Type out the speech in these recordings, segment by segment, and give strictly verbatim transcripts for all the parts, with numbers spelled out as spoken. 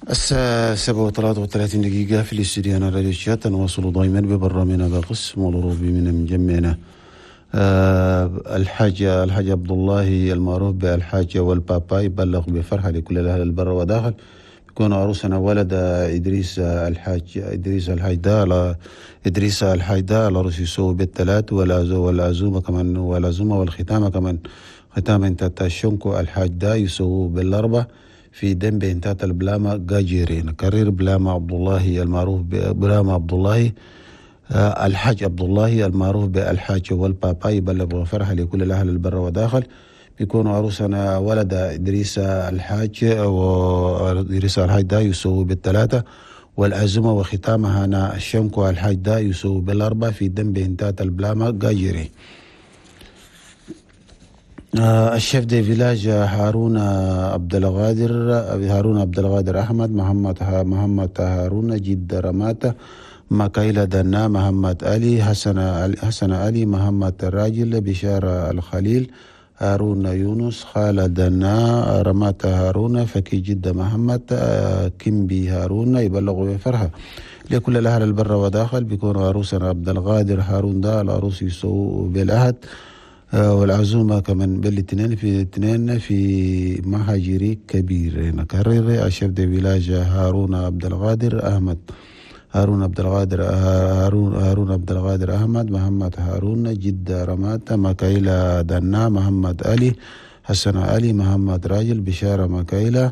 الساعة سبعة وثلاثة وثلاثين دقيقة في الاستديو راديو تشاد. نواصل دائما ببرنامجنا بقسم الأوروبي من مجمعنا. آه الحاج الحاج عبد الله المعروف بالحاج والبابا يبلغ بفرحة لكل الأهل البر وداخل، يكون عروسنا ولد إدريس الحاج إدريس الحاج ده إدريس الحاج ده العروس يسوي بالثلاث والعزومة كمان والعزومة والختامة كمان ختام انت تشنكو الحاج ده يسوي بالأربعة في دم بنتات البلاما جاجيرين. كرير بلاما عبد الله المعروف بلاما عبد الله الحاج عبد الله المعروف بالحاج والبابا يبلغ فرحة لكل الأهل البر وداخل، بيكون عروسنا ولد إدريس الحاج وإدريس الحاج ده يسوي بالثلاثة والعزومة وختامها أنا الشنكو الحاج ده يسوي بالأربعة في دم بنتات البلاما جاجيري. ال chef de village هارون عبد القادر هارون عبد القادر أحمد محمد محمد هارون جد رماته مكايلة دنا محمد علي حسن حسن علي محمد الراجل بشارة الخليل هارون يونس خالد دنا رمات هارون فكي جد محمد كيمبي هارون يبلغوا بفرحة لكل الأهل البر وداخل. بيكون عروسنا عبد القادر هارون ده العروس يسوي بالأحد والعزومة كمان بالاثنين في الاثنين في مهاجري كبير. نكرر ال chef de village هارون عبد القادر أحمد هارون عبد القادر هارون هارون عبد القادر أحمد محمد هارون جدة رمات مكايلة دنا محمد علي حسن علي محمد راجل بشارة مكايلة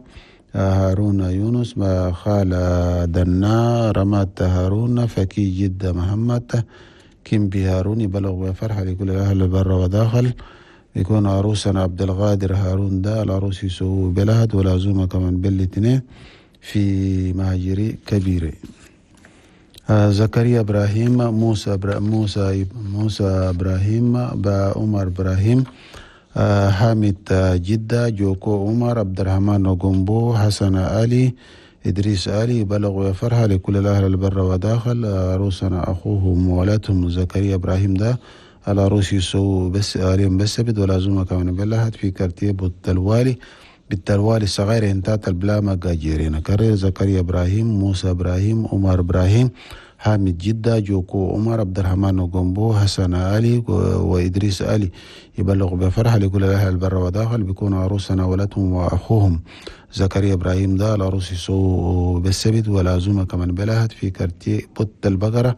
هارون يونس خالة دنا رمات هارون فكي جدة محمد كيمبي هارون يبلغ بفرحة لكل الأهل البر وداخل. يكون عروسنا عبد القادر هارون ده العروس يسوي بلاد والعزومة كمان بالاثنين في مهاجري كبيرة. زكريا إبراهيم موسى برا موسى موسى إبراهيم عمر إبراهيم حامد جدة جوكو عمر عبد الرحمن غومبو حسن علي إدريس علي بلغوا فرحة لكل الأهل البر وداخل. عروسنا أخوهم وولاتهم زكريا إبراهيم ده العروس يسووا بس عليهم بس بد والعزومة كمان بلهت في quartier بالتلوالي بالتلوالي الصغير انتات البلاما جاجيرين. كرير زكريا إبراهيم موسى إبراهيم عمر إبراهيم حامد جدة جوكو عمر عبد الرحمن غومبو حسن علي وإدريس علي يبلغ بفرحة لكل الأهل البر وداخل. بيكون عروسنا ولدهم وأخوهم زكريا إبراهيم ده العروس يسووا بالسبت والعزومة كمان بلهت في quartier بوت البقرة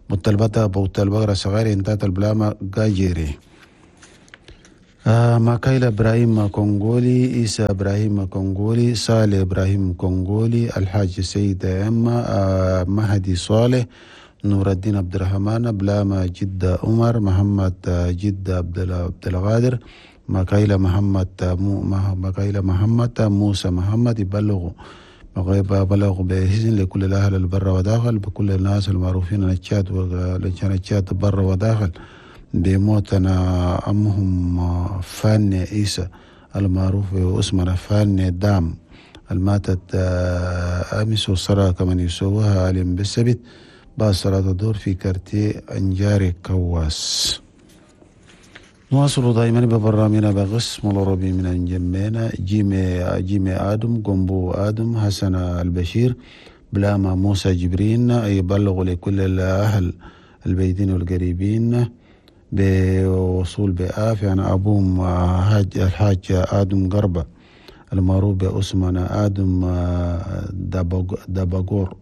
بوت البتا بوت البقرة صغير انتات البلاما جاجيري. آه ماكايلا إبراهيم كونغولي إيسا إبراهيم كونغولي صالح إبراهيم كونغولي الحاج سيد أما آه مهدي صالح نور الدين عبد الرحمن بلاما جدة عمر محمد جدة عبد القادر ماكايلا محمد ماكايلا محمد موسى محمد يبلغوا بلغوا بإذن لكل الأهل البر وداخل بكل الناس المعروفين التشاد والتشاد بر وداخل بموتنا أمهم فاني عيسى المعروف باسمنا فاني دام الماتت أمس والصلاة كمان يسووها عليهم بالسبت بعد صلاة الظهر في quartier أنجاري كواس. نواصل دائما ببرنامجنا بقسم العربي من أنجمينا جيمي جيمي آدم قنبو آدم حسن البشير بلاما موسى جبرين يبلغ لكل الأهل البيتين والقريبين بوصول بآف يعني أبوهم الحاج آدم قربة المعروف بأسمنا آدم دباغور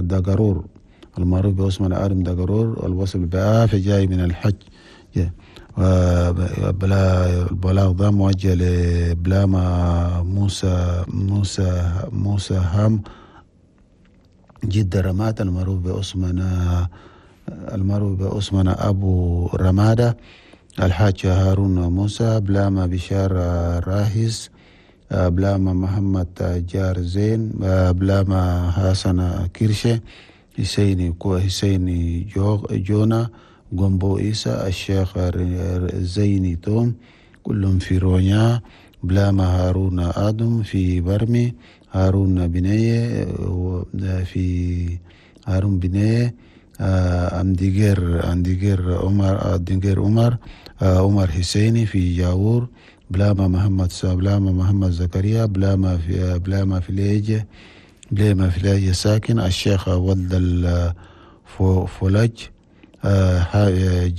دقارور المعروف بأسمنا آدم دقارور الوصل بآف جاي من الحج. البلاغ ده موجه لبلاما موسى موسى موسى هام جدة رمات المعروف بأسمنا المعروف بأسمنا أبو رمادة الحاج هارون موسى بلاما بشار راهز بلاما محمد جار زين بلاما حسن كيرشة حسيني حسيني جونا جومبو إيسا الشيخ زيني توم كلهم في رونيا بلاما هارون آدم في برمي هارون بنية في هارون بنية أمديجير أمديجير عمر أمديجير عمر عمر حسيني في جاور بلاما محمد بلاما محمد زكريا، بلاما في بلاما فليج بلاما فليج ساكن، الشيخ ولد الفولج،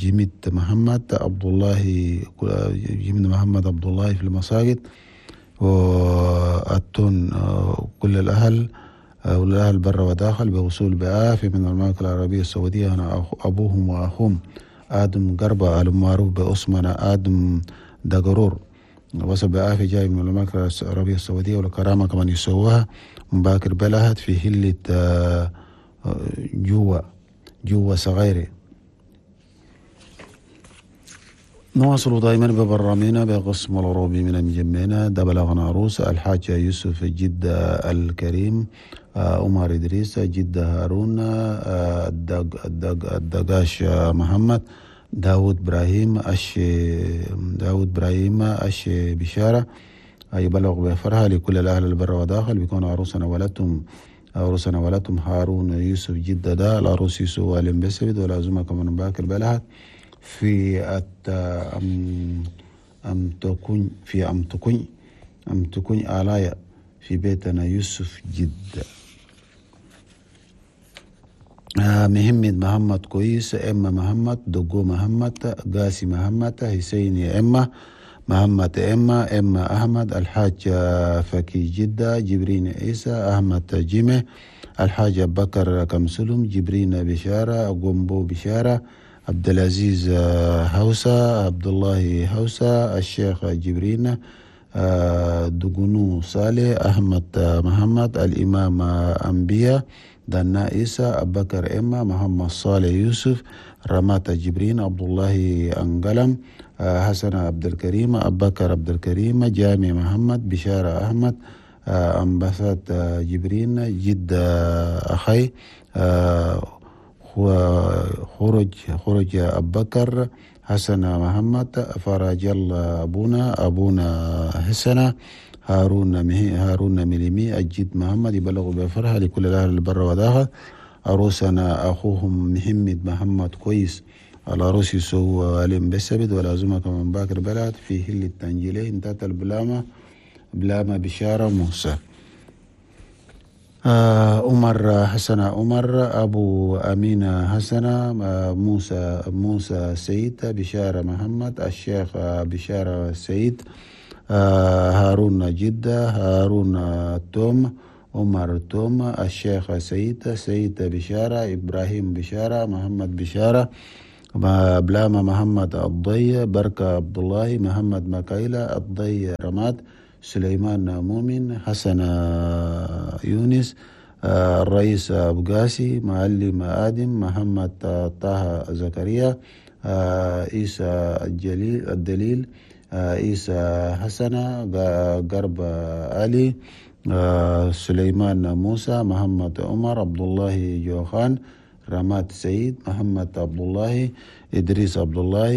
جميد محمد عبد الله، جميد محمد عبد الله في المساجد، والتون كل الأهل والأهل برا وداخل بوصول بعافية من المملكة العربية السعودية. أنا أبوهم وأخوهم آدم قربة المعروف بأسمنا آدم دقرور، وصل بعافية جاي من المملكة العربية السعودية، والكرامة كمان يسووها مباكر بلهت في هلة جوا جوا صغيرة. نواصل دائما ببرامجنا بقسم العروبي من مجمعنا. ده بلغنا عروس الحاج يوسف جدة الكريم، عمر إدريس جدة هارون، الدق الدق الدقاش محمد داود إبراهيم أش داود إبراهيم أش بشارة، يبلغ بفرها لكل الأهل البر وداخل. بيكون عروسنا ولدتم عروسنا ولدتم هارون يوسف جدة ده العروس يوسف والم بسبد والعزومة كمان باكر بلهت في أت أم أم تكون في أم تكون أم تكون آلايا في بيتنا يوسف جدة. مهمد محمد كويس، إما محمد دقو محمد قاسي محمد حسين إما محمد إما إما أحمد الحاج فكي جدة جبرين عيسى أحمد جيمة الحاج بكر كمسلم جبرين بشارة قنبو بشارة عبد العزيز هوسة عبد الله هوسة الشيخ جبرين دقنو صالح أحمد محمد الإمام أنبياء دنا عيسى أبكر إما محمد صالح يوسف رمات جبرين عبد الله أنقلم حسن عبد الكريم أبكر عبد الكريم جامع محمد بشارة أحمد أنبسات جبرين جد أخي خرج خرج أبكر حسن محمد فرج الله أبونا أبونا حسن هارون هارون مليمي الجد محمد يبلغ بفرحة لكل الأهل البر وداخل. عروسنا أخوهم محمد محمد كويس العروس يسوع علم بسبد والعزومة كمان باكر بلد في هل التنجيلين انتهت البلامة بلامة بشارة موسى. عمر حسن عمر أبو أمينة حسن موسى موسى سيد بشارة محمد الشيخ بشارة سيد هارون جدة هارون توم عمر توم الشيخ سيد سيد بشارة إبراهيم بشارة محمد بشارة بلامة محمد الضي بركة عبد الله محمد مكايلة الضي رماد سليمان مؤمن حسن يونس الرئيس أبو قاسي معلم آدم محمد طه زكريا عيسى الجليل الدليل عيسى حسن قرب علي سليمان موسى محمد عمر عبد الله جوخان رماد سيد محمد عبد الله إدريس عبد الله